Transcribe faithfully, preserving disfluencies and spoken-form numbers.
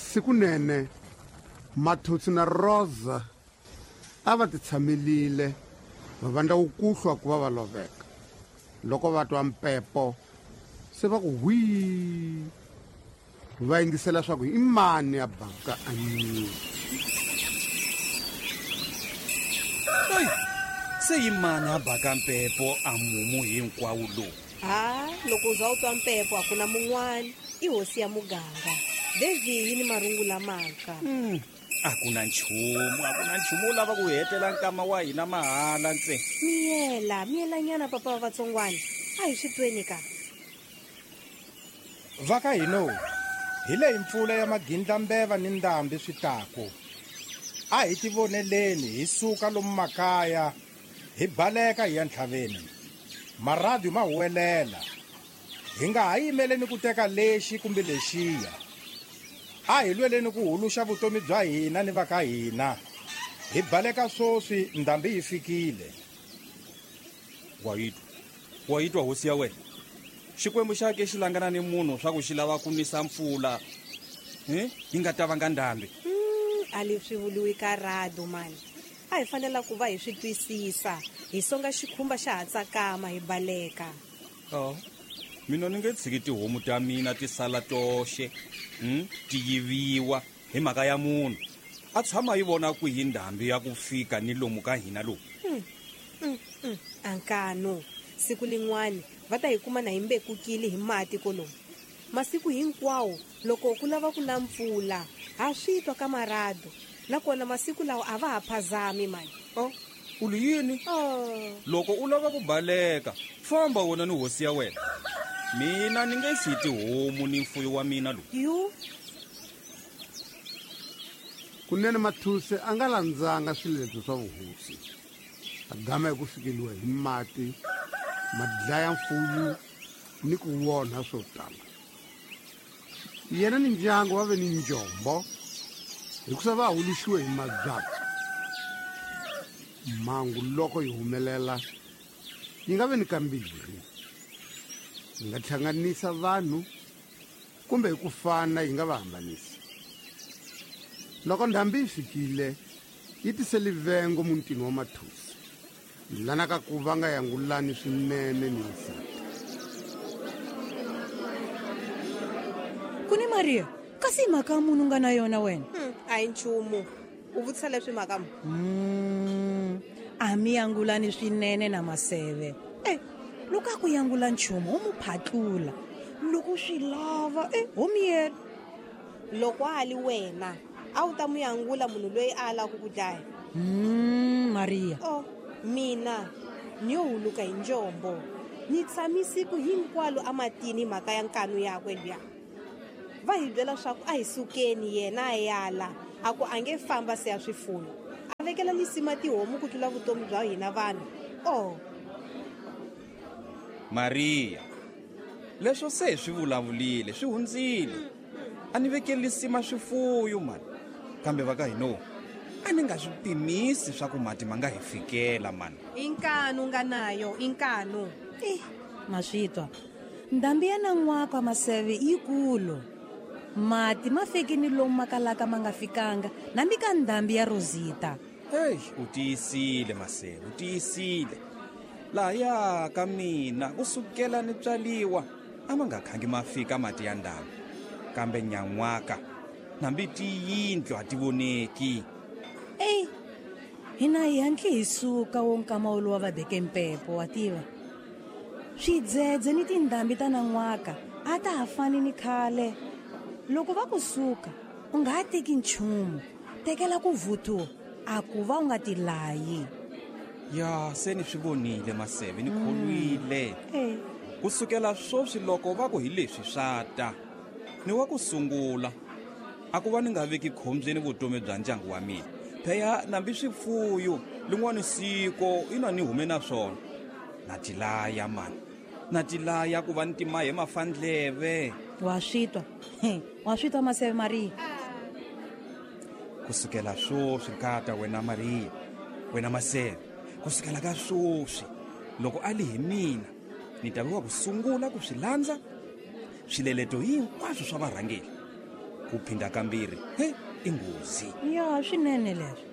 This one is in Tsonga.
Sikunene Mathuthu na Rosa a va titshamelile va vandla wukuhlwa ku va va loveka. Loko va twa mpepo se va ku hwi, va yingisela swa ku i mani ya baka anyini. Se i mani a baka mpepo a mumu hinkwawo lowu? Ha, loko u za u twa mpepo a ku na mun'wani, i hosi ya muganga. Devi yi ni marungu lamantshwa. Mm. A ku na nchumu, a ku na nchumu wu lava ku hetela nkama wa hina mahala ntse. Miyela, miyelanyana papa wa vatsongwana. A hi swi tweni ka. Va ka hino, hi leyi mpfula ya magindlambeva ni ndhambi swi taku. A hi tivoneleni hi suka lomu makaya, hi baleka hi ya ntlhaveni. Maradu ma huwelela. Hi nga ha yimeleni ku teka lexi kumbe lexiya. A hi lweleni ku huluxa vutomi bya hina ni va ka hina. Hi baleka swoswi ndhambi yi fikile. Wa yi twa? Wa yi twa hosi ya wena? Xikwembu xa ke xi langana ni munhu swa ku xi lava ku nisa mpfula. Eh? Yi nga ta vanga ndhambi. Mm, a leswi vuriwi ka rado mani. A hi fanela ku va hi swi twisisa. Hi songa xikhumba xa ha tsakama hi baleka. Oh. Mina ni nge tshiki tihomu ta mina ti sala toxe, mm, ti yiviwa hi mhaka ya munhu. A tshama yi vona kwihi ndhambi ya ku fika ni lomu ka hina lowu. Mm, mm, mm. Ankano, siku lin'wani va ta hi kuma na hi mbekukile hi mati kolomu. Masiku hinkwawo loko ku lava ku na mpfula, ha swi twa ka marado. Nakona masiku lawa a va ha phazami mani. Oh, u li yini? Oh. Loko u lava ku baleka, famba wena ni hosi ya wena. Mina ni nge siyi tihomu ni mfuyo wa mina lowu. Yu. Kunene Mathuse a nga landzanga swiletelo swa vuhosi. A gama hi ku fikeliwa hi mati, ma dlaya mfuyo ni ku onha swo tala. Yena ni ndyangu va ve ni njombo hikusa va huluxiwe hi mabyatso. Mhangu loko yi humelela yi nga ve ni kambirhi. Yi nga hlanganisa vanhu kumbe hi ku fana yi nga va hambanisa. Loko ndhambi yi fikile yi tise livengo mutini wa Mathuse, lana ka ku va nga yangulani swinene ni nsati. Ku ni Maria, kasi hi mhaka munhu nga na yona wena? Hmm, a hi nchumu. U vutisa leswi mhaka mu? Mm, a mi yangulani swinene na Maseve. Eh, loko a ku yangula nchumu, u mu phatlula. Loko swi lava, eh, ho miyela. Loko a li wena, a wu ta mu yangula munhu loyi a lavaku ku dlaya? Mm, Maria. Oh, mina ni yo huluka hi njombo. Ni tshami siku hinkwalo ematini hi mhaka ya nkanu yakwe luya. Va hi byela swa ku a hi sukeni yena a yala, a ku a nge famba se ya swifuyo. A vekela lisima tihomu ku tlula vutomi bya hina vanhu. Oh. Maria, leswo se hi swi vulavulile, swi hundzile. A ni vekeli lisima swifuyo mani. Kambe va ka hino, a ni nga swi pimisi swa ku mati ma nga hi fikela mani. I nkanu nga nayo, i nkanu. Eh, ma swi twa. Ndhambi ya nan'waka Maseve yikulu. Mati ma fiki ni lomu ma kalaka ma nga fikanga, nambi ka ndhambi ya Rosita. Hey, u tiyisile Maseve, u tiyisile. Lahaya ka mina ku sukela ni tswaliwa a ma nga khangi ma fika mati ya ndhambi. Kambe nyan'waka nambi tiyindlu a ti voneki. Ey, hina hi hantli hi suka wo nkama wolowo va beke mpepo, wa tiva. Swidzedze ni tindhambi ta nan'waka a ta ha fani ni khale. Loko va ku suka, u nga ha teki nchumu. Tekela ku vuthu, a ku va u nga tilayi. Ya, se ni swi vonile Maseve, ni kholwile. Eh. Ku sukela sweswi loko va ku hi leswi swa ta, ni wa ku sungula. A ku va ni nga veki khombyeni vutomi bya ndyangu wa mina. Phela nambi swifuyo lin'wana siko ina ni hume na swona. Na tilaya mani. Na tilaya ku va ni timahe mafandleve. Wa swi twa? Wa swi twa Maseve Maria? Ku sukela sweswi nkata wena Maria, wena Maseve, ku sukela ka sweswi loko a li hi mina ni ta va wa ku sungula ku swi landza swileleto hinkwaswo swa varhangeri. Ku phinda kambirhi, he, i nghozi. Ya, swinene leswo.